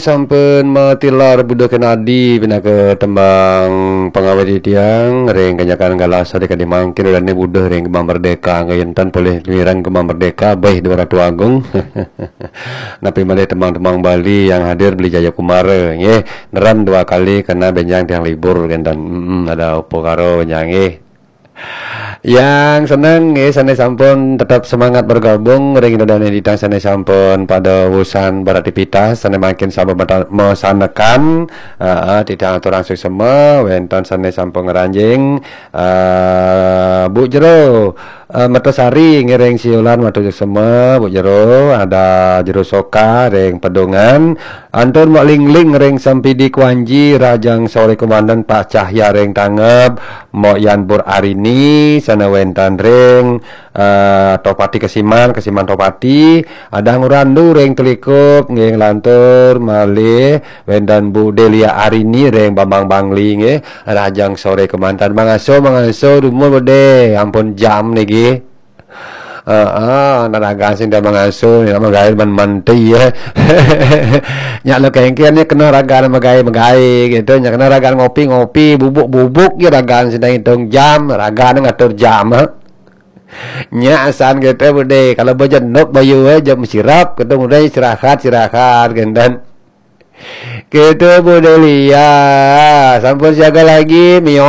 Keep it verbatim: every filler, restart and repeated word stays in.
Sampun matilar Buda Kenadi pinaka tembang pangawit titiang ring kanyakan galasa dikadi mangkin, udané Buda ring Kemang Merdeka, ngénten polih ngiring Kemang Merdeka, béh Dua Ratu Agung. Napi malih tembang-tembang Bali yang hadir Beli Jaya Kumara, nggih. Nerem dua kali karena benjang tiang libur kénten. Mm-mm, ada apa karo benjang, nggih. Yang seneng nggih, sané sampun tetap semangat bergabung ring ida dané titiang sané sampun pada wusan beraktivitas, sané mangkin sampun mata-, masanekan, heeh, titiang aturang suksema, wénten sané sampun ngranjing, eh, Bu Jero, eh, Mertasari ngiring siulan matur suksema, Bu Jero, ada Jero Soka ring Pedungan, Antur Mak Lingling ring Sempidi Kuanji, Rajang Sore Komandan Pak Cahya ring Tangeb, Mbok Yan Pur Arini, sané wénten ring, eh, Tohpati Kesiman, Kesiman Tohpati, ada Ngurandu ring Telikup, nggih nglantur malih wénten Bu Delia Arini ring Bambang Bangli, nggih, Rajang Sore Komandan. Mangasuh, mangasuh, dumun Budé, ampun jam niki. Heeh, anak ragan sing dah mangasuh, nak magaé man manti ya. Nyak lo kengken ni kena ragan magaé-magaé gitu, nyak kena ragan ngopi-ngopi, bubuk-bubuk ya ragan sing dah ngitung jam, ragan ngatur jam, ha. Nyak asan gitu Budé, kalau bejenuh bayu eh, jam sirap, gitu, udah istirahat, istirahat, gitu. Gitu Bu Delia, sampun siaga lagi, mio